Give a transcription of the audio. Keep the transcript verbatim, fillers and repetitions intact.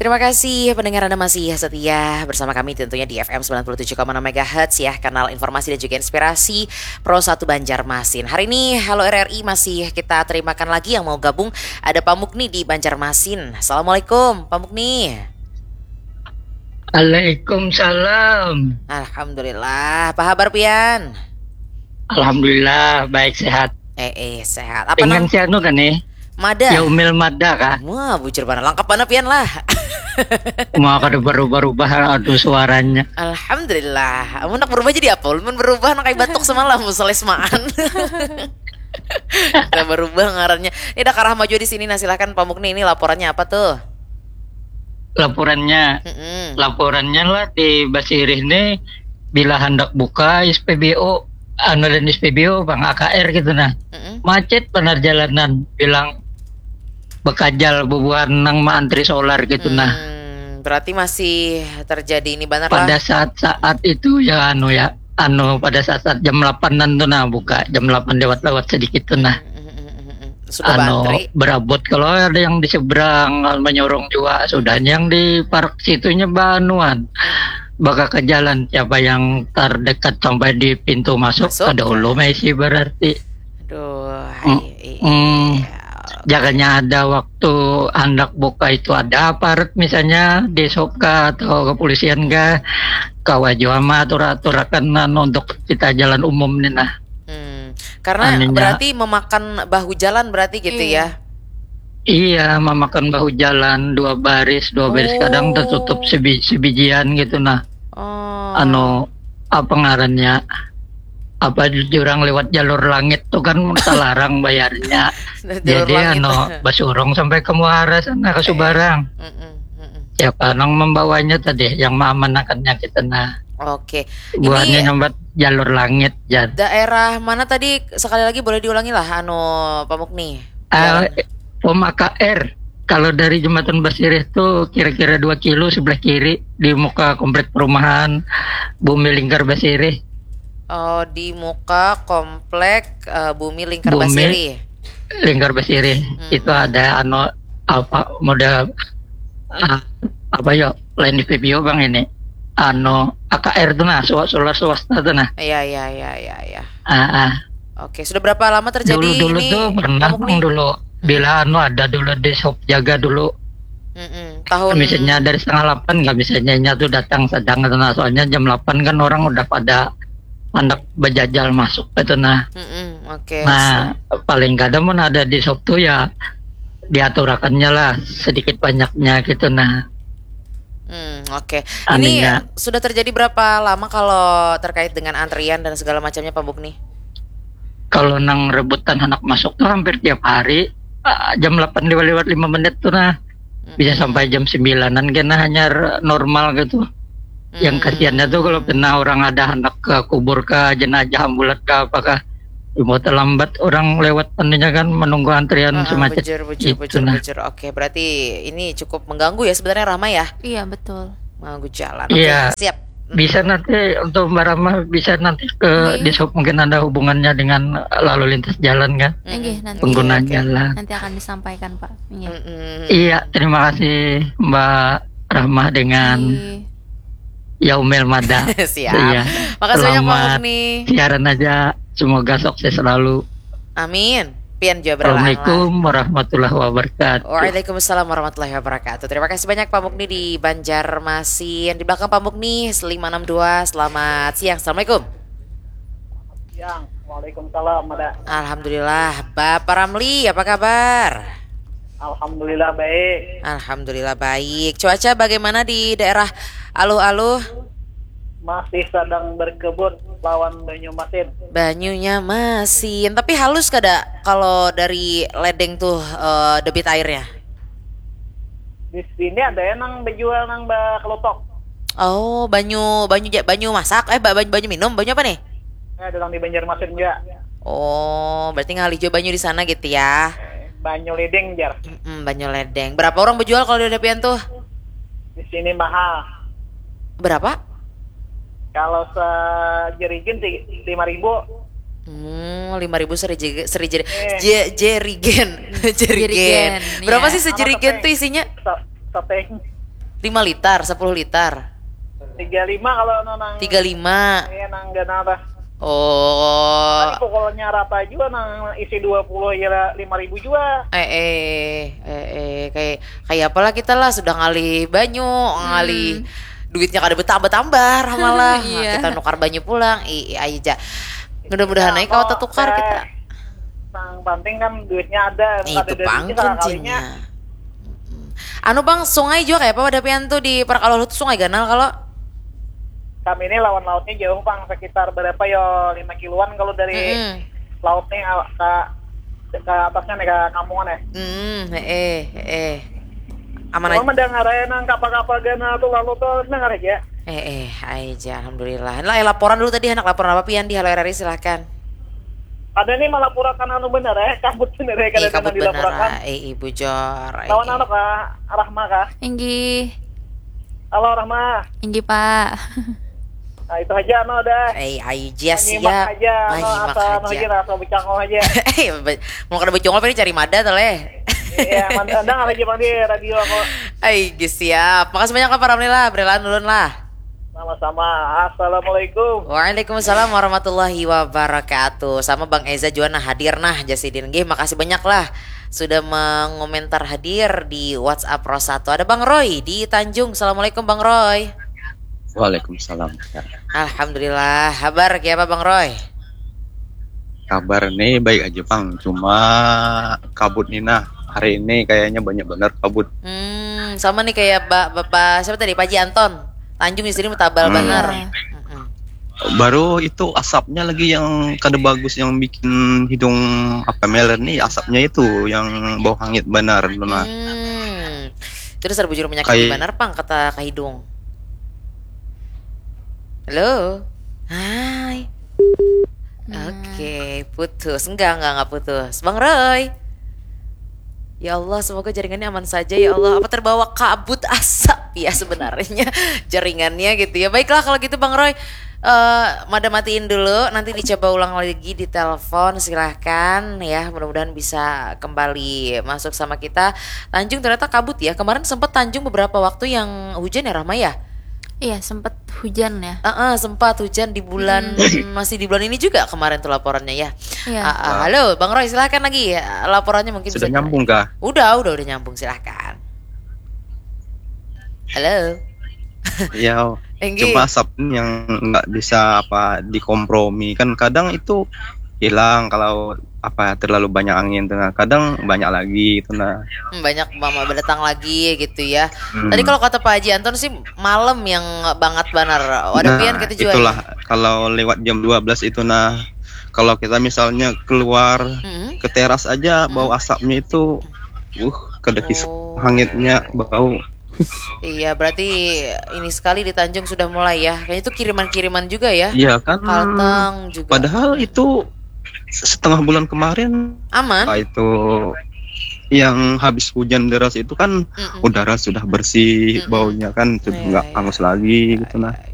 Terima kasih pendengar Anda masih setia bersama kami tentunya di F M sembilan puluh tujuh koma enam megahertz ya, kanal informasi dan juga inspirasi Pro satu Banjarmasin. Hari ini Halo R R I masih kita terimakan lagi yang mau gabung, ada Pak Mukni di Banjarmasin. Assalamualaikum Pak Mukni. Waalaikumsalam. Alhamdulillah. Apa kabar pian? Alhamdulillah baik sehat. Eh eh sehat. Apa nang Dengan si anu kan nih? Mada. Ya Umil Mada kah? Wah, bujur mana lengkap mana pian lah. Mau kada berubah-ubah aduh suaranya. Alhamdulillah. Amun nak berubah jadi apa? Ulun berubah nak kayak batuk semalam selesmaan. Kita berubah ngarannya. Ini ada Karah Maju di sini. Nah, silakan Pak Mukni, ini laporannya apa tuh? Laporannya, Mm-mm. laporannya lah di Basirih nih bila hendak buka S P B U, anu dan S P B U bang A K R gitu nah. Mm-mm. Macet benar jalanan bilang bekajal bubuhan nang maantri solar gitu nah. Hmm, berarti masih terjadi ini benar Pada lah. Saat-saat itu ya anu ya anu pada saat-saat jam delapan-an tuh nah buka jam delapan lewat-lewat sedikit tuh nah. Mm-mm, mm-mm, mm-mm. Sudah Anu bantri. Berabot kalau ada yang di seberang menyorong juga sudahnya yang di park situnya banuan bakal ke jalan siapa yang terdekat sampai di pintu masuk, Masuk. Ada ulu maisi berarti. Aduh, Hmm, iya, iya. hmm. Jaganya ada waktu hendak buka itu ada aparat misalnya di Sopka atau kepolisian kah kawa jua mah atur-aturakan anu, untuk kita jalan umum nih nah. Hmm, karena Anunya. Berarti memakan bahu jalan berarti gitu Iya. Ya. Iya, memakan bahu jalan dua baris, dua baris kadang tertutup sebi- sebijian gitu nah. Oh. Anu apa ngarannya? Apa jurang lewat jalur langit tuh kan terlarang bayarnya. Jalur Jadi langit. Anu basurung sampai ke Muara sana ke Subarang. Mm-mm, mm-mm. Siapa nang membawanya tadi yang mengamanahkannya kita nah. Oke. Buahnya Ini nyambat jalur langit jar. Daerah mana tadi sekali lagi boleh diulangi lah anu Pak Mukni. Ah, Jalan. Pom A K R. Kalau dari jembatan Basirih tuh kira-kira dua kilo sebelah kiri di muka komplek perumahan Bumi Lingkar Basirih. Oh, di muka komplek eh, Bumi Lingkar Bumi. Basiri. Lingkar Basirih itu ada anu apa model ah, apa ya lain di P P O bang ini anu A K R tuh nah swa- solar swasta tuh nah. Iya, iya, iya, iya, iya. Ah, ah. Oke, sudah berapa lama terjadi Dulu-dulu ini? Tuh pernah Pak Mukni? Bang, dulu bila anu ada dulu di shop jaga dulu. Mm-mm. Tahun Misalnya dari setengah delapan nggak bisa nyanyi tuh datang sedang atau nah, soalnya jam delapan kan orang udah pada anak bejajal masuk itu nah. Mm-mm, oke. Nah, paling kada mun ada di shop tuh ya diaturakannya lah sedikit banyaknya gitu nah. Hmm, oke. Anunya. Ini sudah terjadi berapa lama kalau terkait dengan antrian dan segala macamnya Pak Mukni? Kalau nang rebutan anak masuk tuh hampir tiap hari ah, jam delapan lewat lima menit tuh nah. Bisa sampai jam sembilanan kena hanya normal gitu. Yang kasihannya tuh kalau pernah orang ada anak ke kubur ke jenazah ambulan ke apakah mau terlambat orang lewat anunya kan menunggu antrian Ah, semacam bujur, bujur, itu bujur, nah. Bujur. Oke, berarti ini cukup mengganggu ya sebenarnya Rahma ya? Iya betul. Mengganggu jalan. Iya. Oke, siap. Bisa nanti untuk Mbak Rama bisa nanti ke Iya. di shop mungkin ada hubungannya dengan lalu lintas jalan kan Enggih, nanti pengguna oke. jalan. Nanti akan disampaikan Pak. Iya. Mm-mm. Iya, terima kasih Mbak Rahma dengan Iya. Yaumil Mada. Siap. Iya. Makasih banyak Pak Selamat Mukni. Siaran aja. Semoga sukses selalu. Amin. Pian juga berlahan lah. Assalamualaikum warahmatullahi wabarakatuh. Waalaikumsalam warahmatullahi wabarakatuh. Terima kasih banyak Pak Mukni di Banjarmasin. Di belakang Pak Mukni lima enam dua. Selamat siang. Assalamualaikum. Siang. Waalaikumsalam, Mada. Alhamdulillah. Bapak Ramli, apa kabar? Alhamdulillah baik. Alhamdulillah baik. Cuaca bagaimana di daerah Aluh-Aluh? Masih sedang berkebun lawan Banyumasin. Banyunya masin, tapi halus kada kalau dari ledeng tuh eh, debit airnya? Di sini ada yang nang bejual nang ba kelotok. Oh, banyu banyu ja- banyu masak, eh ba- banyu, banyu minum, banyu apa nih? Eh, ada nang di Banjarmasin juga. Oh, berarti ngalih jua banyu di sana gitu ya. Eh, banyu ledeng jar. Mm, banyu ledeng. Berapa orang bejual kalau di depian tuh? Di sini mahal. Berapa? Kalau sejerigen sih lima ribu. Hmm, lima ribu seri jege- seri jeri- Eh. je- jerigen. Jerigen. Jerigen, Berapa iya. Sih sejerigen Apa tuh isinya? Se- Seteng. Lima liter, sepuluh liter. Tiga lima kalau nang. Tiga lima. Iya, nang ganal dah. Oh. Tapi pokoknya rata juga nang isi dua puluh ya lima ribu juga. Eh eh eh eh kayak kayak apalah kita lah sudah ngalih banyu, ngalih hmm. Duitnya kada bertambah-tambah malah. Iya. Kita nukar banyu pulang. Ih, aja. Mudah-mudahan aja kalau tertukar kita. Yang penting kan duitnya ada. Itu pang kuncinya. Anu bang, sungai juga kayak apa pada pian tuh di Parakaluhut tuh sungai ganal kalau? Kami ini lawan lautnya jauh bang, sekitar berapa yo lima kiloan kalau dari mm -hmm. Laut nih ke ke atasnya nih ke kampungan ya. Hmm, eh eh. Aman aja. Mendengar aja nang kapal-kapal ganal tuh lalu tuh dengar aja. Eh eh, aja alhamdulillah. Lah eh, laporan dulu tadi anak laporan apa pian di Halo R R I silahkan. Ada nih melaporakan anu bener ya, kabut bener ya kada ada dilaporakan. Eh ibu jor. Lawan anak kah, Rahma kah? Inggih. Halo Rahma. Inggih Pak. Nah itu aja no dah. Eh ayo jas ya. Aja no asa no aja rasa becangol aja. Eh mau kada becangol ini cari mada tuh leh. Iya, mandang aja bang di radio aku. Ayo siap. Makasih banyak lah Pak Ramli lah, berelaan dulu lah. Sama-sama. Assalamualaikum. Waalaikumsalam warahmatullahi wabarakatuh. Sama Bang Eza juga nah hadir nah Jasidin. Gih, makasih banyak lah sudah mengomentar hadir di WhatsApp Rosatu. Ada Bang Roy di Tanjung. Assalamualaikum Bang Roy. Waalaikumsalam. Alhamdulillah. Habar kiapa Bang Roy? Kabar nih baik aja Bang. Cuma kabut nih nah. Hari ini kayaknya banyak benar kabut. Hmm, sama nih kayak Bapak siapa tadi Pak Ji Anton. Tanjung di sini tabal hmm. Benar. Baru itu asapnya lagi yang kada bagus yang bikin hidung apa meler nih asapnya itu yang bau hangit benar nah. Hmm. Terus ada bujur menyakit Kay... benar pang kata ke hidung. Halo. Hai. Nah. Oke, putus. Enggak, enggak, enggak putus. Bang Roy. Ya Allah, semoga jaringannya aman saja ya Allah. Apa terbawa kabut asap ya sebenarnya jaringannya gitu ya. Baiklah kalau gitu Bang Roy, uh, mada matiin dulu, nanti dicoba ulang lagi di telepon silahkan ya. Mudah-mudahan bisa kembali masuk sama kita. Tanjung ternyata kabut ya. Kemarin sempat Tanjung beberapa waktu yang hujan ya Rahma ya. Iya, sempat hujan ya. Uh, uh, sempat hujan di bulan hmm. Masih di bulan ini juga kemarin tuh laporannya ya. Iya. Uh, uh, halo, Bang Roy, silakan lagi ya, laporannya mungkin sudah nyambung kah? Udah, udah, udah nyambung, silakan. Halo. Iya. Cuma asap yang nggak bisa apa dikompromi kan kadang itu hilang kalau apa terlalu banyak angin tuh nah. Kadang banyak lagi itu nah. Hmm, banyak mama berdatang lagi gitu ya. Hmm. Tadi kalau kata Pak Haji Anton sih malam yang banget banar. Wadah nah, pian kita juga. Itulah ya? Kalau lewat jam dua belas itu nah kalau kita misalnya keluar hmm. Ke teras aja hmm. Bau asapnya itu uh kada kisah oh. Hangitnya bau. Iya, berarti ini sekali di Tanjung sudah mulai ya. Kayaknya itu kiriman-kiriman juga ya. Iya kan. Kalteng juga. Padahal itu setengah bulan kemarin aman. Itu yang habis hujan deras itu kan mm -mm. Udara sudah bersih mm -mm. Baunya kan sudah nggak iya, iya. Hangus lagi gitu nah. Iya, iya.